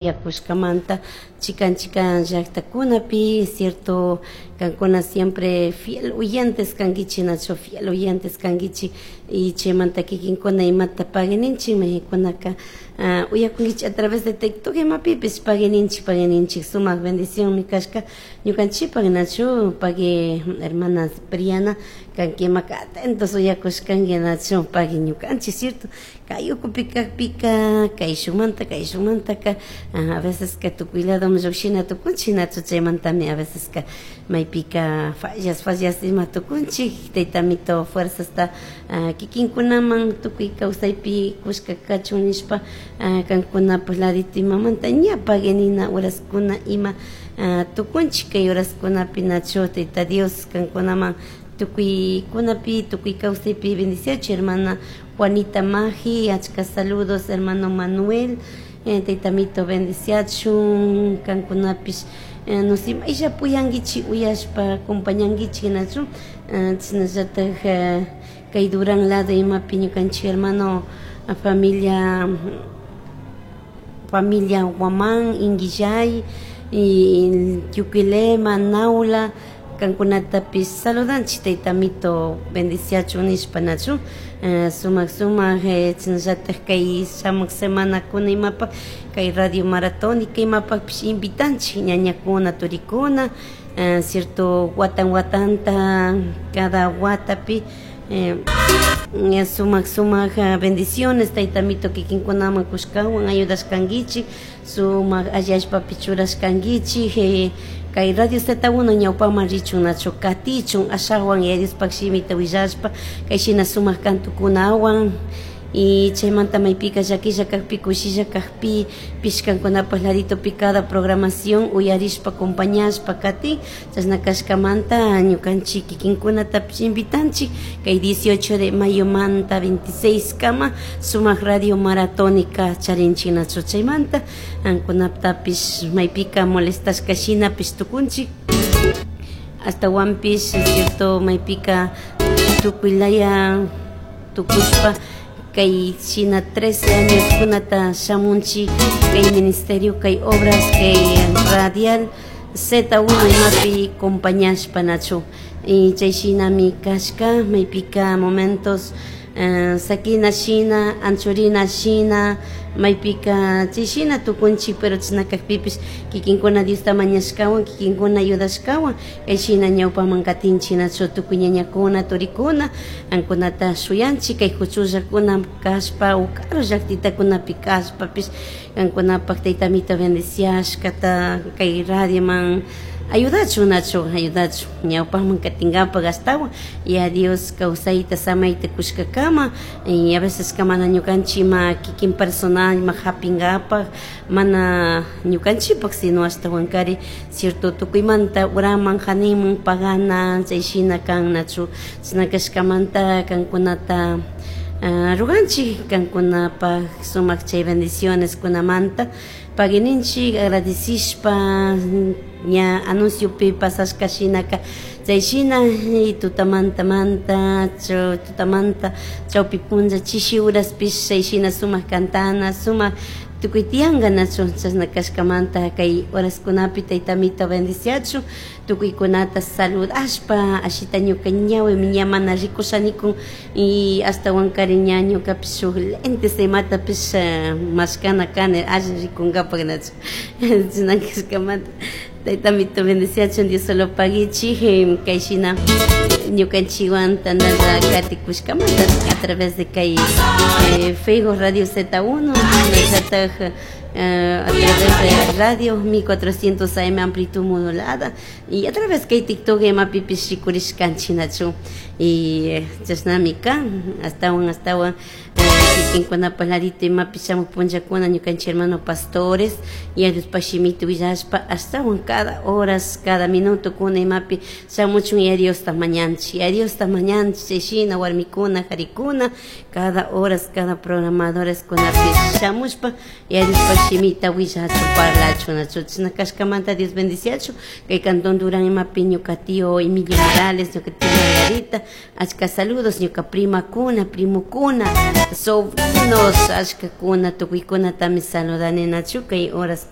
Yakushkamanta chikan chikan llaktakunapi, cierto, kankuna siempre fiel oyentes kankichik, nachu fiel oyentes kankichik y chaymanta kikinkuna imata paguininchik maykunaka uyakunkichik a través de TikTok imapipish paguininchik paguininchik sumak bendicionmi kashka ñukanchikpak, nachu pagui hermana Cipriana kanki imaka atentos uyakushkanki, nachu pagui ñukanchik, cierto, kay ukupi kakpika kayshukmanta kayshukmantaka a veceska tukuy ladoman llukshina tukunchik, nachu chaymantami a veceska maypika fallas fallas ima tukunchik. Taytamito fuerzasta kikinkunaman tukuy kawsaypi kushka kachun nishpa kankunapak ladito imamanta ña paguinina horaskuna ima tukunchik kay horaskunapi, nachu Tayta Dios kankunaman tukuykunapi tukuy kawsaypi bendiciachu. Hermana Juanita Maji, achka saludos, hermano Manuel, Taytamito bendiciachun kankunapish no maylla apoyankichik uyashpa acompañankichik, nachu chashnallatak kay Durán lado imapi ñukanchik hermano familia Guamán, Inguillay y Yuquilema, Naula, kankunatapish saludanchik Taytamito bendiciachun nishpa, nachu sumak sumak chashnallatak kay shamuk semanakuna imapak kay radio maratónica imapakpish invitanchik ñañakuna turikuna, cierto, watan watanta cada watapi sumak sumak bendiciones Taytamito kikinkunaman kushkawan ayudashkankichik sumak alli allpapi churashkankichik kay Radio Z1 ñawpaman richun, nachu katichun ashawan Yaya Diospak shimita willashpa kay shina sumak kantukunawan y chaymanta maypika llakilla kakpi kushilla kakpi pishkankunapak laditopi cada programación uyarishpa acompañashpa katin. Chashna kashkamanta ñukanchik kikinkunatapish invitanchik kay 18 de mayomanta 26 kama sumak radio maratónica charinchik, nachu chaymanta ankunatapish maypika molestashka shinapish tukunchik ashtawanpish, cierto, maypika tukuylaya tukushpa kay shina 13 años kunata shamunchik kay ministerio kay obras kay radial Z1 imapi compañashpa, nachu y chay shinami kashka maypika momentos sakina shina anchurina shina maypika chay shina tukunchik, pero chashna kakpipish kikinkuna Diosta mañashkawan kikinkuna ayudashkawan kay shina ñawpaman katinchik, nachu tukuy ñañakuna turikuna ankunata shuyanchik kay huchullakuna kashpa o karu llaktitakunapi kashpapish kankunapak Taytamito bendiciashkata kay radioman ayudachun, nachu ayudachun ñawpakman katinkapak ashtawan ya Dios kawsayta samayta kushkakama. Y a veces mana ñukanchik ima kikin personal ima hapinkapak mana ñukanchikpak sino ashtawankari, cierto, tukuymanta uraman hanimun pagana chay shina kan, nachu chashna kashkamanta kankunata ruganchik kankunapak sumak chay bendiciones kunamanta paguininchik agradecishpa ña anunciopi pasashka shinaka chay shina tutamantamanta tutamanta chawpi punlla chishi uraspish chay shina sumak cantana sumak tukuy tiyanka, nachu chashna kashkamanta kay horaskunapi Taytamito bendiciachun tukuykunata saludashpa ashita ñuka ñawimi ña mana rikushanikun y ashtawankari ña ñukapish shuk lentes imatapish mashkana kani alli rikunkapak, nachu chashna kashkamanta Taytamito bendiciachun. Dios solo paguichik kay shina ñukanchikwan tandalla katikushkamanta a través de kay Facebook Radio Z1 shinallatak a través de radio 1400 AM amplitud modulada y a través kay TikTok imapipish rikurishkanchik, nachu y chashnami kan ashtawan ashtawan kikinkunapak ladito imapish shamuk punllakuna ñukanchik hermano pastores y Diospaj shimita willashpa ashtawan cada horas cada minuto kuna imapi shamuchun ya Diosta mañanchik, ya Diosta mañanchik chay shina warmikuna karikuna cada horas cada programadores kunapi shamushpa ya Diospaj shimita willachun parlachun, nachu chashna kashkamanta Dios bendiciachun kay cantón Durán imapi ñuka tío Emilio Morales, ñuka tía Margarita, achka saludos, ñuka primakuna primukuna. Sobrinos ashkakuna tukuykunatami saludani nachu kay horas.